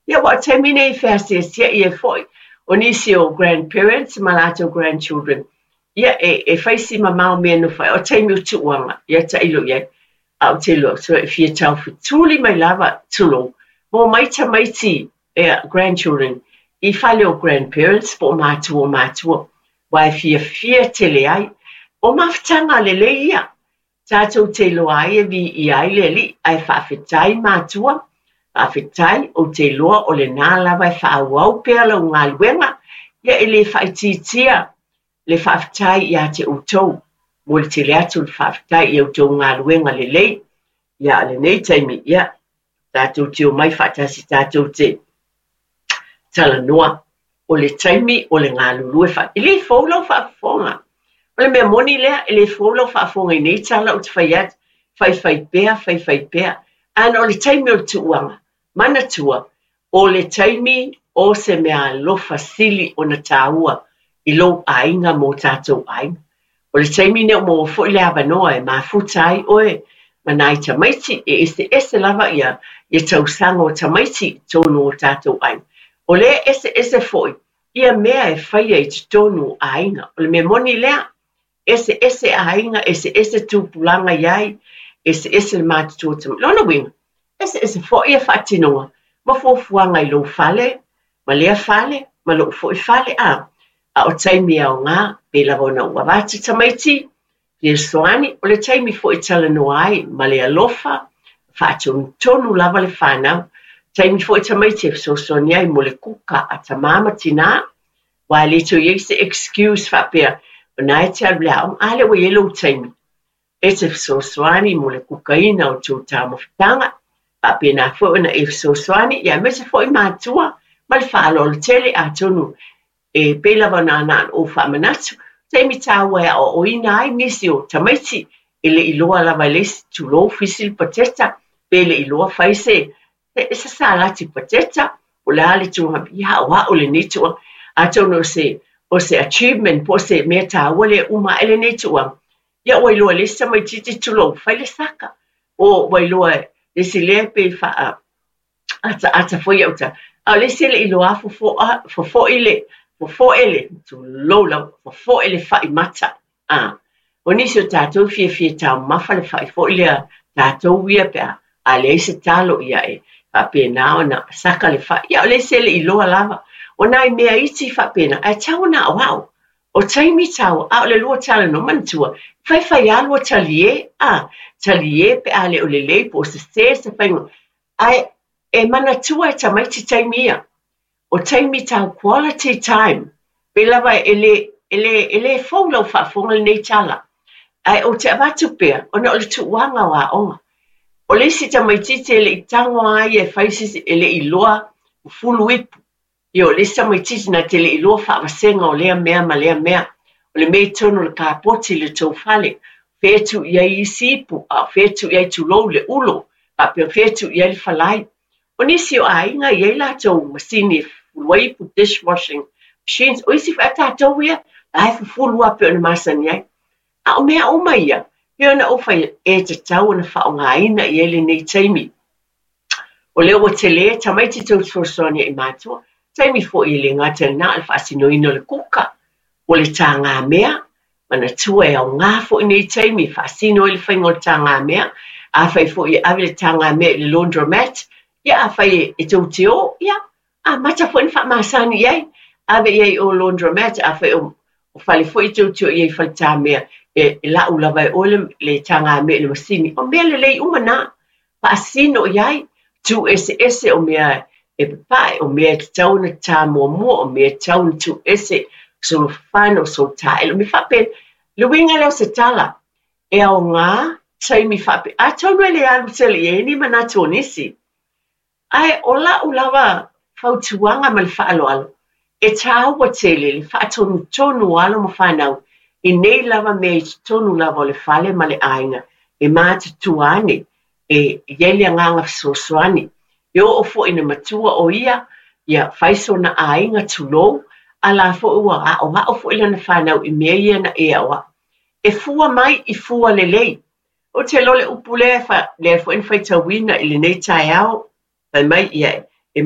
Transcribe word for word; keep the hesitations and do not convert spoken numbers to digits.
Ia, ua o taimi nei e feasiasia'i ai foi o nisi o grandparents ma latou grandchildren. Ia, e, e fai si mamao mea e nofo ai. O taimi o tuuaga, ia tailo i ai. A ou te iloa, so e fia taufetuli mai lava, tulou, ma omai tamaiti, ia, grandchildren, i fale o grandparents po o matua o matua, aua e fiafia tele ai. O mafutaga lelei ia, tatou te iloa ai e viia ai le Alii, ae faafetai matua, faafetai, ou te iloa o lena lava e faaauau pea lau galuega, ia e le faaitiitia le faafetai ia te outou. Momoli tele atu le faafetai i a outou galuega lelei. Ia, a o lenei taimi, ia, tatou te omai faatasi tatou te talanoa. O le taimi o le galulue fa... E le fou lau faafofoga. O le mea moni lea, e le fou lau faafofoga i nei tala ou te fai atu, faifai pea, faifai pea. Ae o le taimi o le tuuaga, manatua, o le taimi o se mea alofa sili ona tāua i lou aiga ma o tatou aiga. O le taimi nei ua maua foi le avanoa e mafuta ai oe ma nai tamaiti, e eseese lava ia, ia tausaga o tamaiti i totonu o tatou aiga. O lea e eseese foi ia mea e faia i totonu o aiga. O le mea moni lea, eseese aiga, eseese tupulaga i ai, eseese le matutua o tamaiti. Lona uiga, eseese foi ia faatinoga ma fuafuaga i lou fale, ma lea fale, ma lou foi fale. A, a o taimi e aoga, pei lava ona ou avatu tamaiti, fesoasoani, o le taimi foi e talanoa ai ma le alofa, faatonutonu lava le fanau. Taimi foi tamaiti e fesoasoani ai mo le kuka a tamā ma tinā, aua e le toe i ai se excuse faapea, o na e te alu i le aoga, a lea ua i ai lou taimi. E te fesoasoani mo le kukaina o tou taumafataga, faapena foi ona e fesoasoani, ia aemaise foi matua ma le faaaloalo tele atonu e pei lava ona na ou faamanatu, taimi tāua e aoaoina ai nisi o tamaiti e le iloa lava e le isi, tulou, fisi le pateta, pe le iloa fai se, se salati pateta, o le a le tulaga, ia aoao lenei tuuaga. Atonu o se, o se achievement po o se mea tāua lea uma ae lenei tuuaga, ia ua iloa e le isi tamaitiiti, tulou, fai le saka. O ua iloa e le isi lea pe faa ataata foi au ta. A o le isi e le iloa fofoa, fofo'i le, fofo'e le, tulou lava, fofo'e le fai mata. A, o nisi o tatou fiafia taumafa le fai foi lea tatou ia pe a, a leai se talo ia e faapena ona saka le fai. Ia o le isi e le iloa lava. O nai mea iti faapena, ae tatau ona aoao. O taimi tāua, a o le lua talanoa, manatua, faifai lava lua talie, a, talie pe a le o lelei po o sese se faiga. Ae e manatua e tamaiti taimi ia. O taimi tau quality time. Pei lava e le, e le, e le fou lau faafofoga lenei tala. Ae ou te avatu pea, ona o le tuuaga o aoga. O le isi tamaitiiti e le i tago lava ia e fai se isi, e le i iloa fufulu ipu. Ia o le isi tamaitiiti na te le i iloa faavasega o lea mea ma lea mea. O le mea i totonu o le kapoti i le tou fale. Fea e tuu i ai isi ipu, a o fea e tuu i ai tulou le ulo, faapea fea e tuu i ai le falai. O nisi o aiga e i ai latou masini e fufulu ai ipu, dishwashing machines. O isi foi a tatou ia, la e fufulu lava pei ona masani ai. A o mea uma ia, pei ona ou fai atu, e tatau ona faaaogaina i ai lenei taimi. O lea ua tele tamaiti tou fesoasoani i matua, taimi foi e le gata i lena o le faasinoina o le kuka, o le tagamea, manatua e aoga foi nei taimi e faasino ai le faiga o le tagamea. Afai foi e ave le tagamea i le laundromat, ia afai e tou te o, ia amata foi ona faamasani i ai, ave i ai o laundromat, afai o, o fale foi tou te o i ai i faletamea, e, e lau lava e oe le, le tagamea i le masini. O mea lelei uma na, faasino i ai, tuu eseese o mea e papae, o mea e tatau ona ta muamua, o mea e tatau ona tuu ese, solofafana, o solitaele, o mea faapena. Le uiga lea o se tala, e aoga taimi faapea. Atonu e le alu tele i ai ni manatu o nisi. Ae o lau lava fautuaga ma le faaaloalo, e tāua tele le faatonutonu o alo ma fanau i nei lava mea i totonu lava o le fale ma le aiga e matutua ane e i ai le agaga fesoasoani. E oo foi ina matua o ia, ia fai sona aiga tulou, a la foi ua aoao foi lana fanau i mea ia na e aoao. E fua mai i fua lelei. Ou te iloa le upu lea, lea foi na faitauina i lenei taeao, fai mai ia e